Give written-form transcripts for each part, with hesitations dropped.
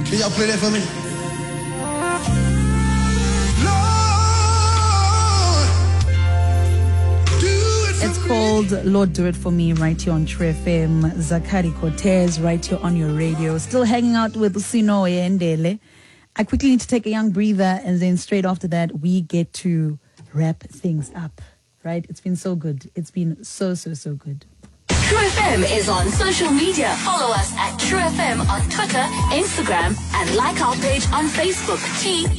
Can y'all play that for me? Lord, do it for It's called Lord Do It For Me right here on True FM. Zakari Cortez right here on your radio. Still hanging out with Sino Yendele. I quickly need to take a young breather, and then straight after that, we get to wrap things up, right? It's been so good. It's been so, so, so good. True FM is on social media. Follow us at True FM on Twitter, Instagram, and like our page on Facebook, t.r.u.fm.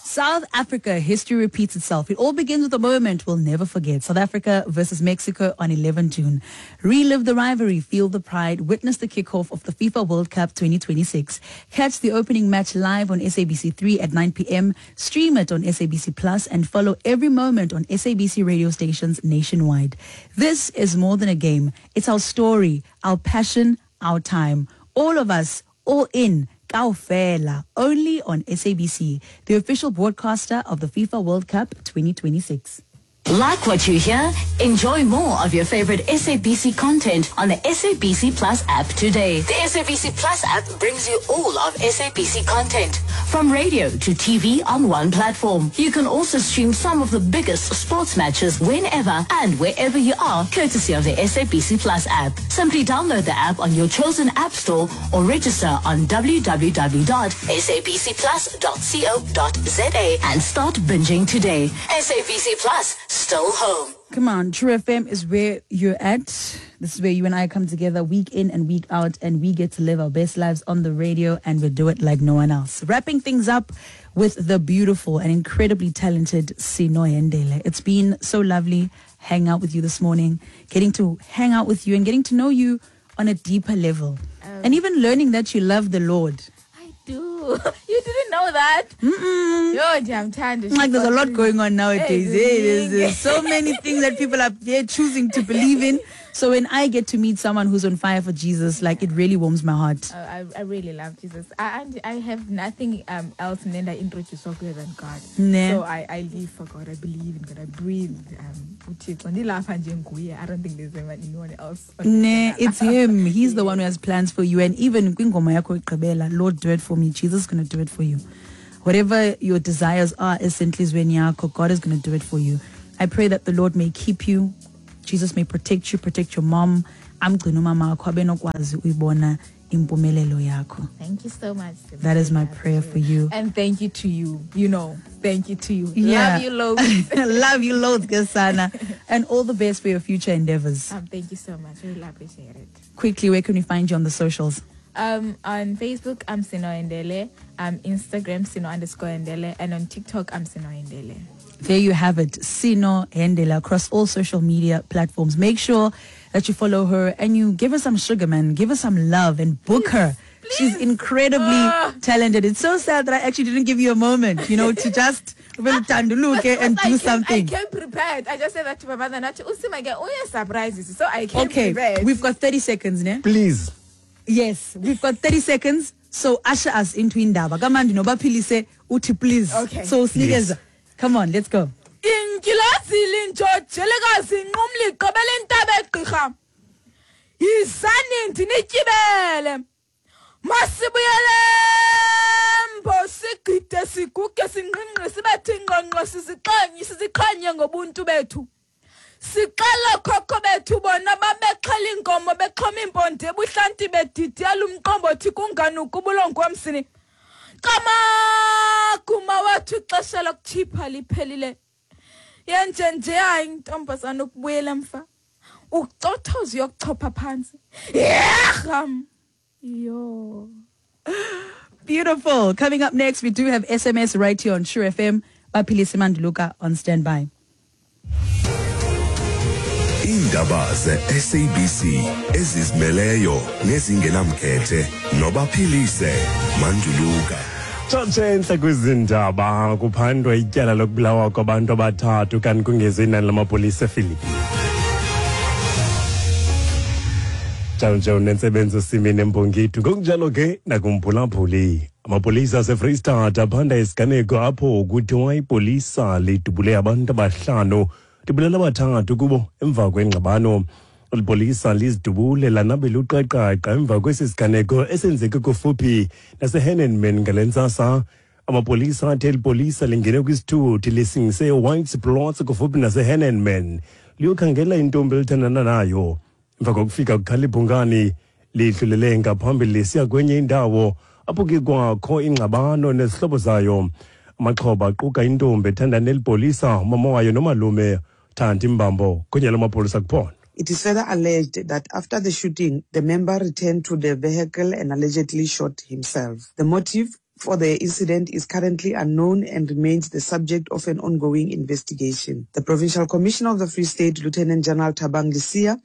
South Africa, history repeats itself. It all begins with a moment we'll never forget. South Africa versus Mexico on 11 June. Relive the rivalry, feel the pride, witness the kickoff of the FIFA World Cup 2026. Catch the opening match live on SABC3 at 9 p.m., stream it on SABC Plus, and follow every moment on SABC radio stations nationwide. This is more than a game. It's our story, our passion, our time. All of us, all in. Kaofela, only on SABC, the official broadcaster of the FIFA World Cup 2026. Like what you hear? Enjoy more of your favorite SABC content on the SABC Plus app today. The SABC Plus app brings you all of SABC content, from radio to TV on one platform. You can also stream some of the biggest sports matches whenever and wherever you are, courtesy of the SABC Plus app. Simply download the app on your chosen app store or register on www.sabcplus.co.za and start binging today. SABC Plus, still home. Come on, True FM is where you're at. This is where you and I come together week in and week out, and we get to live our best lives on the radio, and we do it like no one else. Wrapping things up with the beautiful and incredibly talented Sino Yendele. It's been so lovely hanging out with you this morning, getting to hang out with you and getting to know you on a deeper level, and even learning that you love the Lord. I do. You didn't know that? Mm-mm. Yo, ndiyamthanda. Like there's a lot going on nowadays. Hey, eh? There's so many things that people are choosing to believe in. So when I get to meet someone who's on fire for Jesus, like it really warms my heart. I really love Jesus. I have nothing else nenda introduce other than God. Ne. So I live for God. I believe in God. I breathe. uThixo. Ndilapha nje nguye. I don't think there's anyone else. Ne, it's him. He's the one who has plans for you. And even kwingoma yakho yokugqibela, Lord, do it for me. Jesus is going to do it for you. Whatever your desires are, esentlizweni yakho, God is going to do it for you. I pray that the Lord may keep you. Jesus may protect you, protect your mom. Amgcine umama wakho abe nokwazi uyibona impumelelo yakho. Thank you so much. That is my prayer for you. And thank you to you. You know, thank you to you. Yeah. Love you loads. Love you loads, Gesana. And all the best for your future endeavors. Thank you so much. Really appreciate it. Quickly, where can we find you on the socials? On Facebook, I'm Sino Endele. Instagram, Sino_Endele. And on TikTok, I'm Sino Endele. There you have it, Sino Endele, across all social media platforms. Make sure that you follow her and you give her some sugar, man. Give her some love and book her. Please. She's incredibly talented. It's so sad that I actually didn't give you a moment, you know, to just really tanduluke and do something. I came prepared. I just said that to my mother. Not to surprises. So I came prepared. We've got 30 seconds, ne? Please. Yes, we've got 30 seconds. So usher us into indaba. Come on, nobaphilise uthi please. Okay. So sneakers. Yes. Come on, let's go. Ingilazi linjojelekazi nqumli qabela intaba egqirha. Yizani ndinityibele. Masibuyele mbo sigide siguge sinqinqe sibethi ngqongqo sizixenye siziqhanye ngobuntu bethu. Sixela khokho bethu bona babexhela inkomo bexhoma impondo ebuhlanti bedidiyela umqombothi kunganuki ubulongwe emsini. Kama wethu ixesha lokuchipha liphelile. Yenje nje hayi intombazana ukubuyela mfa. Ucothoza uyokuchopha phansi. Yeham. Yo. Beautiful. Coming up next, we do have SMS right here on True FM. Baphilise Manduluka on standby. Indaba ze-SABC ezizimeleyo nezingenamkhethe nobaphilise Manduluka. Tshotshe entle kwizindaba kuphandwa ityala lokubulawa kwabantu abathathu kanti kungezwe inani lamapolisa ePhilippi. Njalo nentsebenzo simini embongitu ngokunjalo ke nakumphulaphuli. Amapolisa aseFreystata aphanda isiganeko apho kuthiwa ipolisa lidubule abantu abahlanu, libulala abathathu kubo emva kwengxabano. Eli polisa lizidubule lanabela uqaqaqa emva kwesi siganeko esenzeke kufuphi naseHennenman ngale ntsasa. Amapolisa athe eli polisa lingene kwisithuthi lisingise eWhite Plots kufuphi naseHennenman liyokhangela intombi elithandana nayo. Emva kokufika kukhala ibhungane, lidlulele ngaphambili lisiya kwenye indawo apho ke kwakho ingxabano nezihlobo zayo. Amaxhoba aquka intombi ethandana neli polisa, umama wayo nomalume. Thanti Mbambo kunye lamapolisa kuphondo. It is further alleged that after the shooting, the member returned to the vehicle and allegedly shot himself. The motive for the incident is currently unknown and remains the subject of an ongoing investigation. The Provincial Commissioner of the Free State, Lieutenant General Thabang Lisia,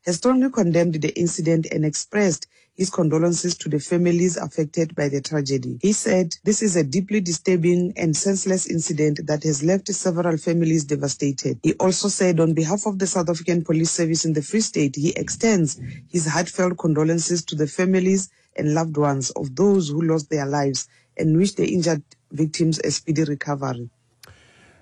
has strongly condemned the incident and expressed his condolences to the families affected by the tragedy. He said this is a deeply disturbing and senseless incident that has left several families devastated. He also said on behalf of the South African Police Service in the Free State, he extends his heartfelt condolences to the families and loved ones of those who lost their lives and wish the injured victims a speedy recovery.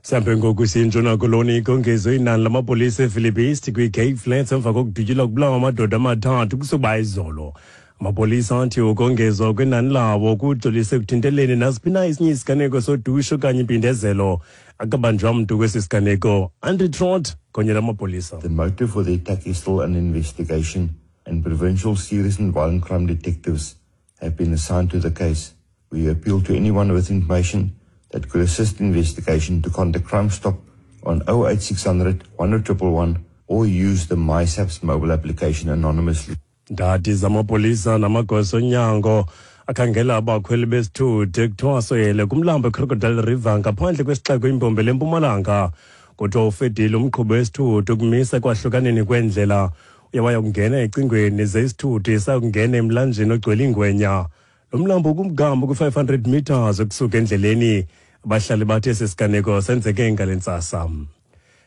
Sihambe ngoku siye Koloni. Kongezwe inani lamapolisa ePhilippi East kwi-Cape Flats emva kokudutyulwa kubulawa amadoda amathathu kusukuba izolo. Amapolisa athi ukongezwa kwenani lawo kujolise ekuthinteleni nasiphi na esinye isiganeko sodushe okanye impindezelo. Akabanjwa mntu kwesi siganeko. Andy Trott kunye lamapolisa. The motive for the attack is still under investigation, and provincial serious and violent crime detectives have been assigned to the case. We appeal to anyone with information that could assist the investigation to contact Crime Stop on 08600 10111 or use the MySAPS mobile application anonymously. Ndati zamapolisa namagosa onyango akhangela abakhweli besithuthi ekuthiwa soyele kumlambo eCrocodile River ngaphandle kwesixeko iMbombela eMpumalanga. Kuthiwa ufedile umqhubi wesithuthi ukumisa ekwahlukaneni kwendlela, uye waya kungena ecingweni ze isithuthi sakungena emlanjeni ogcwele iingwenya. Lo mlambo kumgama kwi-500 meters ukusuka endleleni. Abahlali bathi esi siganeko senzeke ngale ntsasa.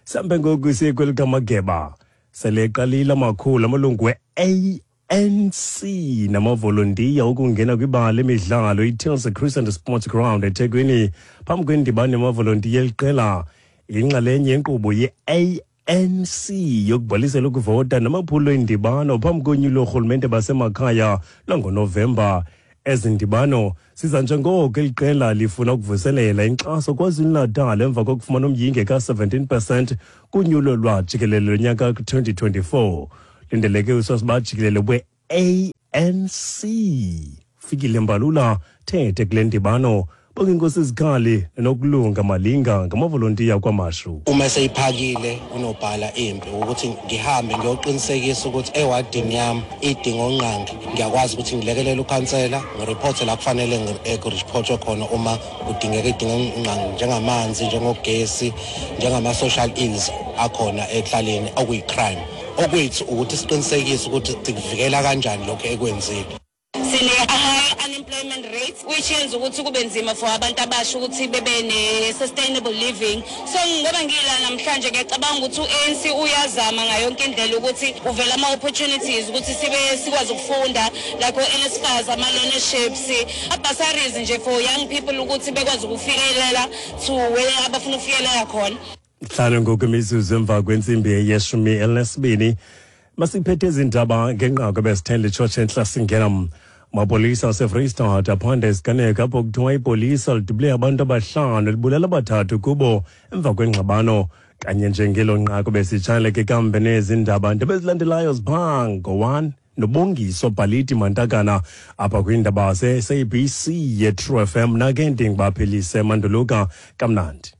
Sihambe ngoku siye kwelikamageba. Sele eqalile amakhulu amalungu we-ANC namavolontiya ukungena kwibala lemidlalo iTilse Crescent Sports Ground eThekwini phambi kwendibano yamavolontiya eliqela, inxalenye yenkqubo ye-ANC yokubhalisela ukuvota namaphulo endibano phambi konyulo loorhulumente basemakhaya lwangoNovemba. Ezi ndibano ziza njengoko eli qela lifuna ukuvuselela inkxaso KwaZulu-Natal emva kokufumana umyinge ka-17% kunyulo lwajikelele lonyaka ka-2024. Lindeleke usosiba jikelele we-ANC Fikile Mbalula thethe kule ndibano. Bonginkosi Zikhali nokulunga Malinga ngamavolontiya kwaMashu. Uma seyiphakile unobhala impi ukuthi ngihambe ngiyoqinisekisa ukuthi ewadini yami idingo ngqangi, ngiyakwazi ukuthi ngilekelele ukhansela, ngiripothe la kufanele ngiripothe khona uma kudingeka idingo ngqangi, njengamanzi, njengogesi, njengama-social ills akhona ekuhlaleni, okuyi-crime. Okwethu ukuthi siqinisekise ukuthi sikuvikela kanjani lokho ekwenzile. Sine high unemployment rate, which yenza ukuthi kube nzima for abantu abasha ukuthi bebe ne-sustainable living. So ngoba ngila namhlanje, ngiyacabanga ukuthi u-ANC uyazama ngayo yonke indlela ukuthi uvele ama-opportunities ukuthi sibe sikwazi ukufunda, like o-NSFAS, ama-learnerships, ama-bursaries nje for young people ukuthi bekwazi ukufikelela to where abafuna ukufikelela khona. 5 ngoku imizuzu emva kwentsimbi ye-12. Masiphethe izindaba ngenqaku ebesithele litshotshe entla singena. Amapolisa aseFreystata aphanda isiganeko apho kuthiwa ipolisa lidubule abantu abahlanu libulala abathathu kubo emva kwengxabano. Kanye njengelo nqaku besitshale ke kambe nezi ndaba ndaba ezilandelayo ziphaa ngo-1 noBongiso Bhaliti Mantakana apha kwiindaba ze-SABC ye-True FM. Nake ndingibaphelise, manduluka kamnandi.